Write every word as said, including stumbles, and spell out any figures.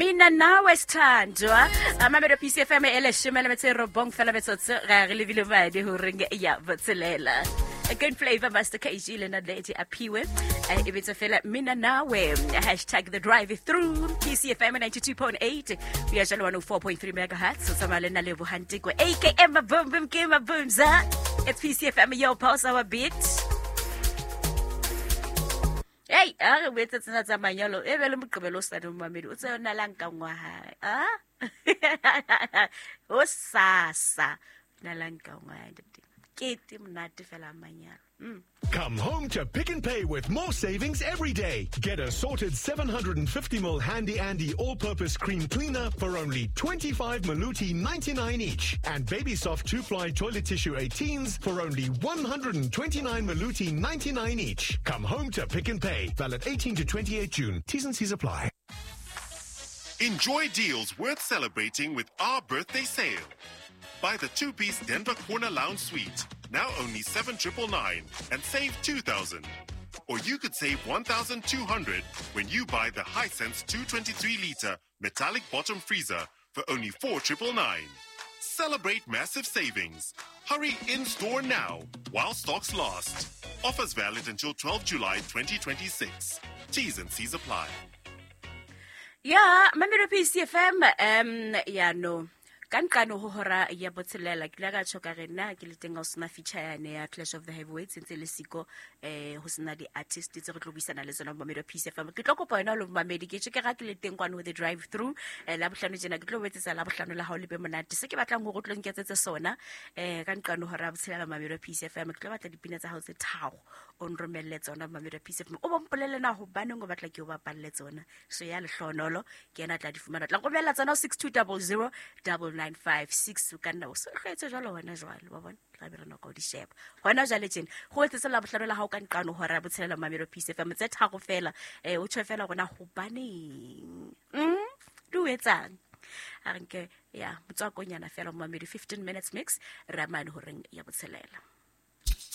Mina nawe sithandwa. Mamelo P C F M e leshome le metso e robong fela metsotso ga re lebile madi horeng ya botshelela. A good flavor Master K G le Naledi Aphiwe. E bitsa fela Mina Nawe. Hashtag the drive through P C F M ninety-two point eight. We are one oh four point three megahertz. So tsamaya le nna Lebohang Tiko, A K M Boom Boom Ke Mabumza. It's P C F M, your pulse, our beat. Hey, a re boetse tsena tsa manyalo e be le Moqebelo o sa le momamedi o tse yona la nka ngwa hae. Ah? O sasa na la nka ngwa hae. Kete monate fela manyalo. Mm. Come home to Pick n Pay with more savings every day. Get a sorted seven hundred fifty milliliter Handy Andy all-purpose cream cleaner for only twenty-five Maluti ninety-nine each. And Baby Soft two-ply toilet tissue eighteens for only one hundred twenty-nine Maluti ninety-nine each. Come home to Pick n Pay. Valid eighteen to twenty-eight June. T's and C's apply. Enjoy deals worth celebrating with our birthday sale. Buy the two-piece Denver Corner Lounge Suite, now only seven triple nine, and save two thousand. Or you could save one thousand two hundred when you buy the Hisense two twenty-three liter metallic bottom freezer for only four triple nine. Celebrate massive savings. Hurry in-store now while stocks last. Offers valid until twelfth July twenty twenty-six. T's and C's apply. Yeah, Mamelo P C F M, um, yeah, no. Ka nqane ho hora ya botshelela ke ile ka tjho ka re nna ke le teng ha o sena feature yane ya Clash of the Heavyweights ntse le siko eh ho sena di-artist tse re tlo buisana le tsona Mamelo P C F M. Ke tlo kopa yona lo mamedi ke tjho ke ra ke le teng kwano the drive through eh la bohlano tjena ke tlo etsetsa la bohlano la hao le be monate. Se ke batlang hore o tlo nketsetse sona eh ka nqane hora ya botshelela Mamelo P C F M. Ke tlo batla dipina tsa hao tse tharo o nromelle tsona Mamelo P C F M. O bo mpolelle na hobaneng o batla ke o bapalle tsona. So ya lehlonolo ke yena tla di fumana. Tla nromella tsona six two zero zero double nine five six o ka nna o se hlwetse jwalo hona jwale wa bona tla be re nako di sheba hona jwale tjena go etsetse la bohlano la hao ka nqano hora ya botshelela Mamelo P C F M tse tharo fela eh o tjho fela rona hobaneng mm di o etsang a re nke ya motswakonyana fela Mamelo fifteen minutes mix ramane horeng ya botshelela.